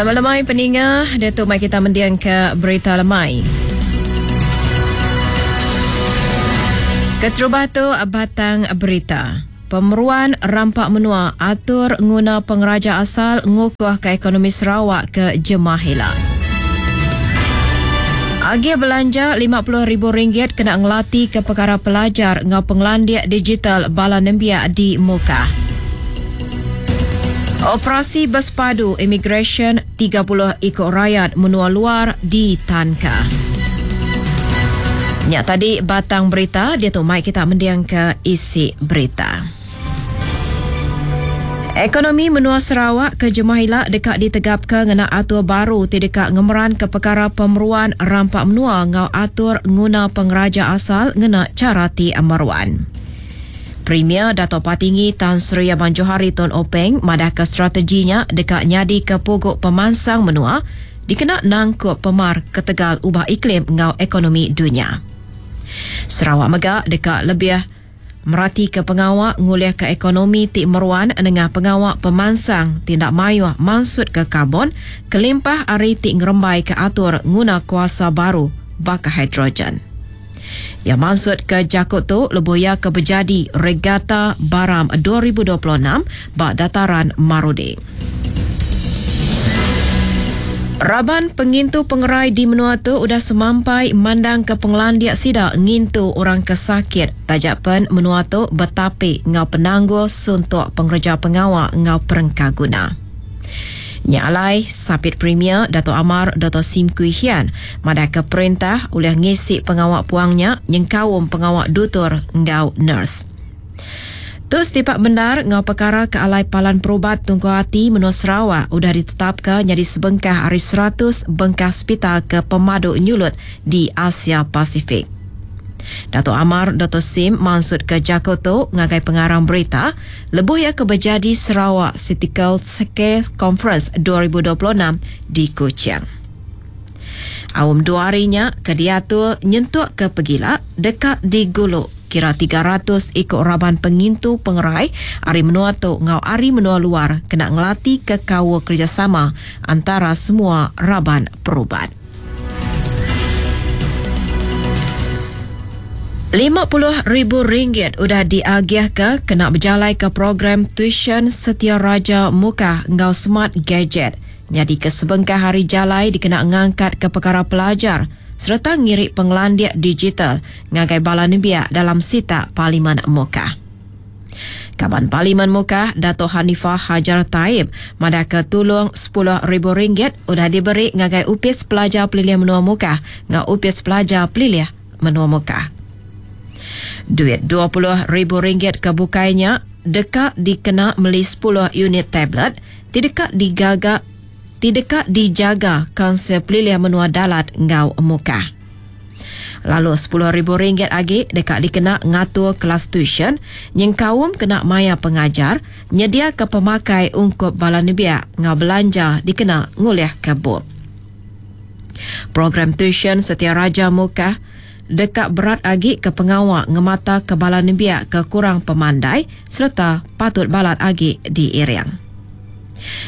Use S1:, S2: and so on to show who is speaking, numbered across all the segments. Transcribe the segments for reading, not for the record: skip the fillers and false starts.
S1: Sama lemai peninga, diatu mai kita mending ke berita lemai. Keterubah tu batang berita. Pemeruan rampa menua atur nguna pengeraja asal ngukuhka ekonomi Sarawak ke jemah ila. Agih belanja RM50,000 kena ngelatihka pekara pelajar enggau pengelandik digital bala nembiak di Mukah. Operasi Bersepadu Imigresen 30 iku rayat menua luar ditanka. Nya tadi batang berita diatu mai kita mendingka isi berita. Ekonomi menua Sarawak ke jemah ila deka ditegapka ngena atur baru ti deka ngemeranka pekara pemeruan rampa menua enggau atur nguna pengeraja asal ngena chara ti meruan. Premier Datuk Patinggi Tan Sri Abang Johari Tun Openg madahka strategi nya deka nyadika pugu pemansang menua dikena nangkup pemar ketegal ubah iklim enggau ekonomi dunya. Sarawak mega deka lebih meratika pengawa ngulihka ekonomi ti meruan nengah pengawa pemansang ti enda mayuh mansutka karbon kelimpah ari ti ngerembaika atur nguna kuasa baru baka hidrogen. Iya mansutka jaku tu lebuh iya ke bejadi Regatta Baram 2026 ba Dataran Marudi. Raban pengintu pengerai di menua tu udah semampai mandangka pengelandik sida ngintu orang ke sakit taja pen menua tu betapi enggau penanggul suntuk pengereja pengawa enggau perengkaguna. Nya alai, Sapit Premier Datuk Amar Doktor Sim Kui Hian madahka perintah ulih ngisi pengawa puang nya nyengkaum pengawa dutur enggau nurse. Tu setipak bendar enggau pekara ke alai Palan Perubat Tungkul Ati Menua Sarawak udah ditetapka nyadi sebengkah ari 100 bengkah sepital ke pemadu nyulut di Asia Pasifik. Datuk Amar Doktor Sim mansutka jaku tu ngagai pengarang berita lebuh iya ke bejadi Sarawak Critical Care Conference 2026 di Kuching. Aum dua hari nya ke diatur nyentuk ke pegila deka digulu kira 300 iku raban pengintu pengerai ari menua tu enggau ari menua luar kena ngelatihka kaul kerejasama antara semua raban perubat. RM50,000 udah diagihka kena bejalaika program tuisyen Setia Raja Mukah enggau Smart Gadget nyadika sebengkah ari jalai dikena ngangkatka pekara pelajar sereta ngiri pengelandik digital ngagai bala nembiak dalam sitak Parlimen Mukah. Kaban Parlimen Mukah, Dato Hanifah Hajar Taib madahka tulung RM10,000 udah diberi ngagai Opis Pelajar Pelilih Menua Mukah enggau Opis Pelajar Pelilih Menua Mukah. Duit RM20,000 ke bukai nya deka dikena meli 10 unit tablet ti deka digaga ti deka dijaga Kaunsil Pelilih Menua Dalat enggau Mukah. Lalu RM10,000 agi deka dikena ngatur kelas tuisyen nyengkaum kena maya pengajar nyediaka pemakai ungkup bala nembiak enggau belanja dikena ngulihka bup. Program tuisyen Setia Raja Mukah deka berat agi ke pengawa ngemataka bala nembiak ke kurang pemandai sereta patut balat agi diiring.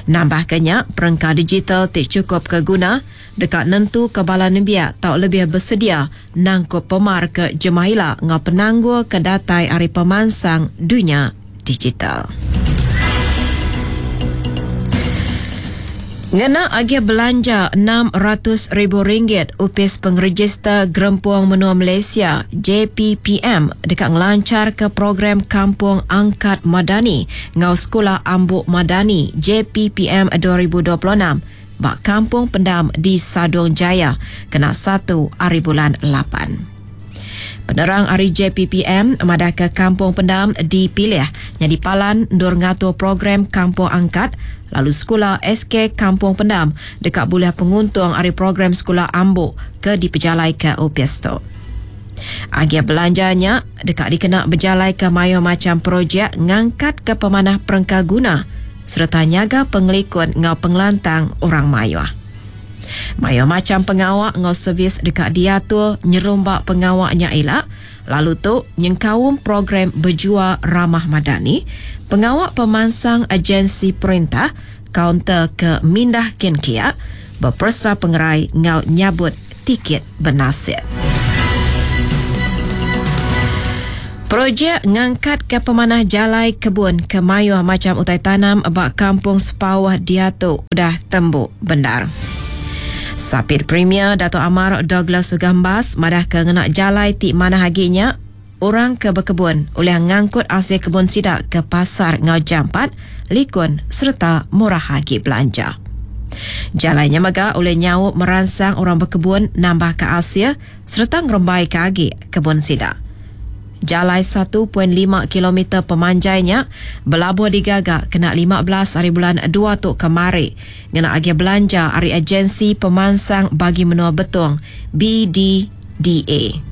S1: Nambahka nya, perengka digital ti chukup ke guna deka nentuka bala nembiak tau lebih besedia nangkup pemar ke jemah ila enggau penanggul ke datai ari pemansang dunya digital. Ngena agih belanja RM600,000, Opis Pengerejister Gerempung Menua Malaysia, JPPM, deka ngelancharka program Kampung Angkat Madani enggau Sekula Ambuk Madani JPPM 2026 ba Kampung Pendam di Sadong Jaya kena satu ari bulan lapan. Penerang ari JPPM madahka Kampung Pendam dipilih nyadi palan endur ngatur program Kampung Angkat lalu sekula SK Kampung Pendam deka bulih penguntung ari program sekula ambuk ke dipejalaika opis tu. Agih belanja nya deka dikena bejalaika mayuh macham projek ngangkatka pemanah perengka guna sereta nyaga pengelikun enggau pengelantang orang mayuh. Mayuh macham pengawa enggau servis deka diatur nyerumba pengawa nya ila lalu tu nyengkaum program Bejua Ramah Madani, pengawa pemansang agensi perintah. kaunter ke mindah kin kia, beperesa pengerai enggau nyabut tikit benasit. Projek ngangkatka pemanah jalai kebun ke mayuh macham utai tanam ba Kampung Sepauh diatu udah tembu bendar. Sapit Premier Datuk Amar Douglas Uggah Embas madahka ngena jalai ti manah agi nya orang ke bekebun ulih ngangkut asil kebun sida ke pasar enggau jampat, likun sereta murah agi belanja. Jalai nya mega ulih nyaup meransang orang bekebun nambahka asil sereta ngerembaika agi kebun sida. Jalai 1.5 kilometer pemanjai nya belabuh digaga kena 15 hari bulan dua tu kemari ngena agih belanja ari Agensi Pemansang Bagi Menua Betong, BDDA.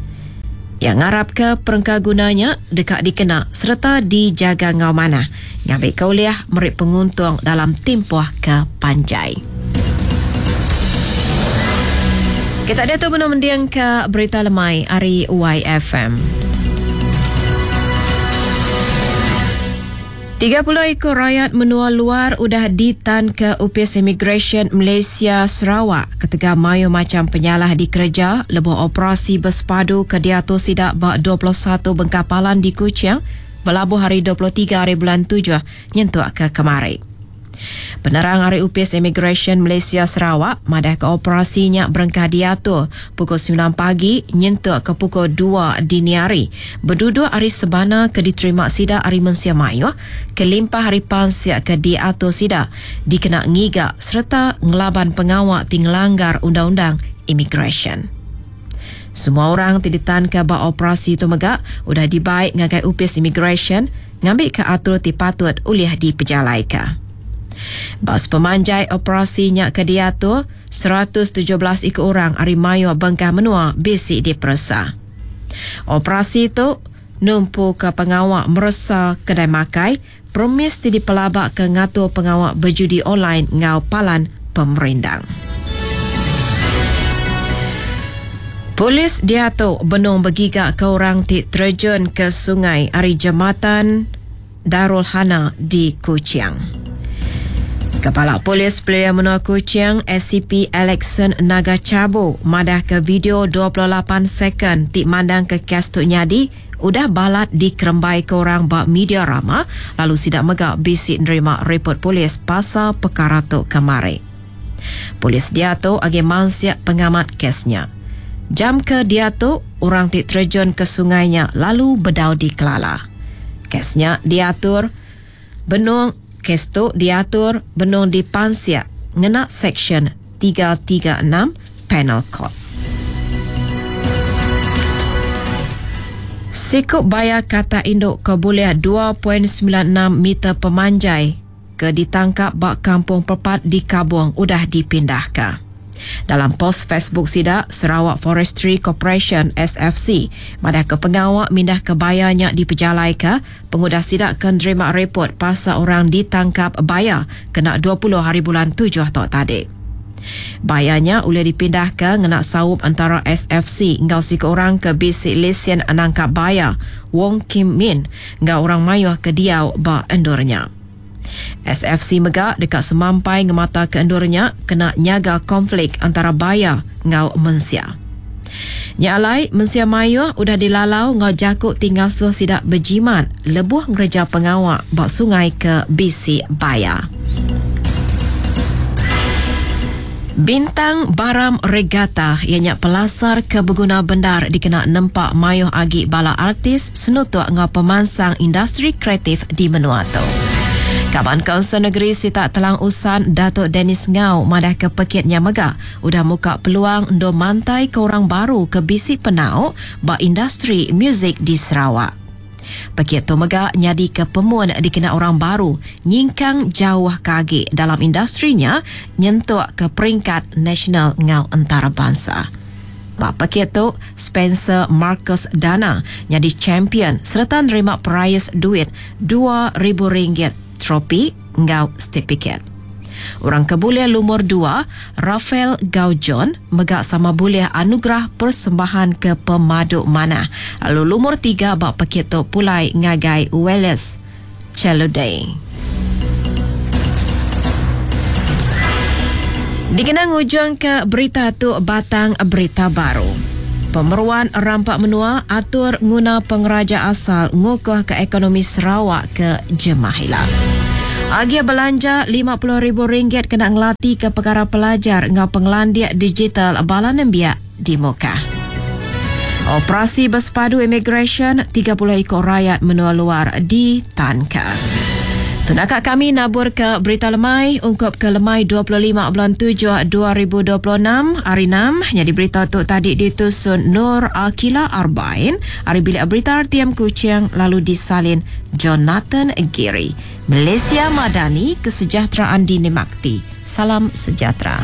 S1: Iya ngarapka perengka guna nya deka dikena sereta dijaga enggau manah ngambika ulih meri penguntung dalam timpuh ke panjai. Kita diatu benung mendingka berita lemai ari YFM. 30 iku rayat menua luar udah ditanka Opis Imigresen Malaysia Sarawak ketegal mayuh macham penyalah dikereja lebuh operasi besepadu ke diatur sida ba 21 bengkah palan di Kuching belabuh hari 23 hari bulan tujuh nyentuk ke kemari. Penerang ari Opis Imigresen Malaysia Sarawak madahka operasi nya berengkah diatur pukul semilan pagi nyentuk ke pukul dua dini hari beduduk ari sebana ke diterima sida ari mensia mayuh kelimpah ari pansik ke diatur sida dikena ngiga sereta ngelaban pengawa ti ngelanggar undang-undang imigresen. Semua orang ti ditanka ba operasi tu mega udah dibai ngagai Opis Imigresen ngambika atur ti patut ulih dipejalaika. Ba sepemanjai operasi nya ke diatur, 117 iku orang ari mayuh bengkah menua bisi diperesa. Operasi tu numpuka pengawa meresa kedai makai, premis ti dipelabaka ngatur pengawa bejudi online enggau palan pemerindang. Polis diatu benung begigaka orang ti terejun ke sungai ari Jematan Darul Hana di Kuching. Kepala Polis Pelilih Menua Kuching, SCP Alexson Naga Chabu madahka video 28 second ti mandangka kes tu nyadi udah balat dikerembaika orang ba media rama lalu sida mega bisi nerima ripot polis pasal pekara tu kemari. Polis diatu agi mansik pengamat kes nya. Jam ke diatu, orang ti terejun ke sungai nya lalu bedau dikelala. Kes nya diatur benung kes tu diatur benung dipansik ngena Seksyen 336 Penal Code. Siku baya katak indu ke bulih 2.96 meter pemanjai ke ditangkap ba Kampung Pepat di Kabong udah dipindahka. Dalam pos Facebook sida, Sarawak Forestry Corporation, SFC, madahka pengawa mindahka baya nya dipejalaika pengudah sida ke nerima ripot pasal orang ditangkap baya kena 20 haribulan tujuh tu tadi. Baya nya ulih dipindahka ngena saup entara SFC enggau siku orang ke bisi lesen nangkap baya, Wong Kim Min, enggau orang mayuh ke diau ba endur nya. SFC mega deka semampai ngemataka endur nya kena nyaga konflik antara baya enggau mensia. Nya alai, mensia mayuh udah dilalau enggau jaku ti ngasuh sida bejimat lebuh ngereja pengawa ba sungai ke bisi baya. Bintang Baram Regatta iya nya pelasar ke beguna bendar dikena nempa mayuh agi bala artis senutuk enggau pemansang industri kreatif di menua tu. Kaban Kaunsil Negeri Sitak Telang Usan Datuk Dennis Ngau madahka pekit nya mega udah muka peluang endur mantaika orang baru ke bisi penau ba industri muzik di Sarawak. Pekit tu mega nyadika pemun dikena orang baru nyingkang jauh ke agi dalam industri nya nyentuk ke peringkat nasional enggau entarabansa. Ba pekit tu, Spencer Marcus Dana nyadi champion sereta nerima perais duit 2000 ringgit, tropi enggau setipikit. Orang ke bulih lumur dua, Raphael Gau John mega sama bulih anugerah persembahan ke pemadu manah lalu lumur tiga ba pekit tu pulai ngagai Wallace Cheludey. Dikena ngujungka berita tu batang berita baru. Pemeruan rampa menua atur nguna pengeraja asal ngukuhka ekonomi Sarawak ke jemah ila. Agih belanja 50 ribu ringgit kena ngelatika pekara pelajar enggau pengelandik digital bala nembiak di Mukah. Operasi bersepadu imigresen 30 iku rayat menua luar ditanka. Tunaka kami nabur ke berita lemai ungkup ke lemai 25 bulan 7 2026 hari 6. Jadi berita tu tadi ditusun Nur Akila Arbain hari bilik berita RTM Kuching lalu disalin Jonathan Giri. Malaysia Madani, kesejahteraan dinikmati. Salam sejahtera.